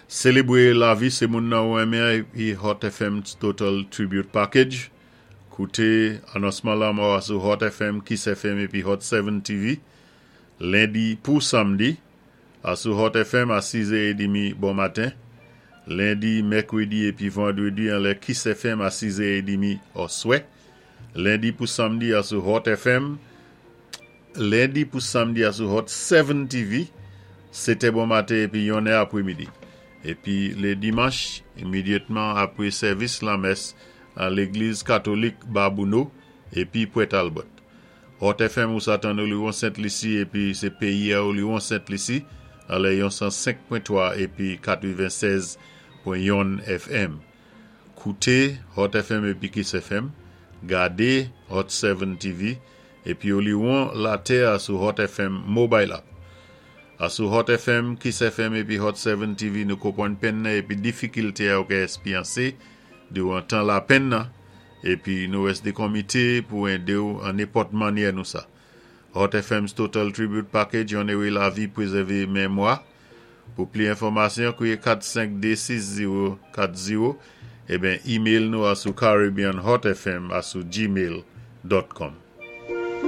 Sélébwé lavi sé moun nan ou renmen épi Hot FM's Total Tribute Package. Kouté anonsman lanmò a sou Hot FM, Kiss FM épi Hot 7 TV. Lendi pou samdi, a sou Hot FM a 6 è édmi bon maten. Lendi, mèkwédi épi vandwédi anlè Kiss FM a 6 è édmi oswè. Lendi pou samdi a sou Hot FM. Lendi pou samdi a sou Hot 7 TV, 7 è bon maten épi 1 è apwémidi. Épi lé dimanch, imidyatman apwé sèvis lanmès an légliz katolik Babouno épi Pwè Talbot. Hot FM ou sa tann Oliwon Sent Lisi épi sé péyi a Oliwon Sent Lisi anlè yon 105.3 épi 96.1 FM. Kouté Hot FM épi Kiss FM, gadé Hot 7 TV épi Oliwon latè a sou Hot FM Mobile App. A sou Hot FM, Kiss FM épi Hot 7 TV nou konpwann penn nan épi difikilté a ou ka èspyansé diwan tan lapenn nan épi nou èsdé konmité pou édé-w an nenpòt mannyè nou sa. Hot FM's Total Tribute Package onéré lavi pwézèvé mémwa. Pou pli enfòmasyon, kwiyé 452 6040 eben email nou a sou caribbeanhotfm a sou gmail.com.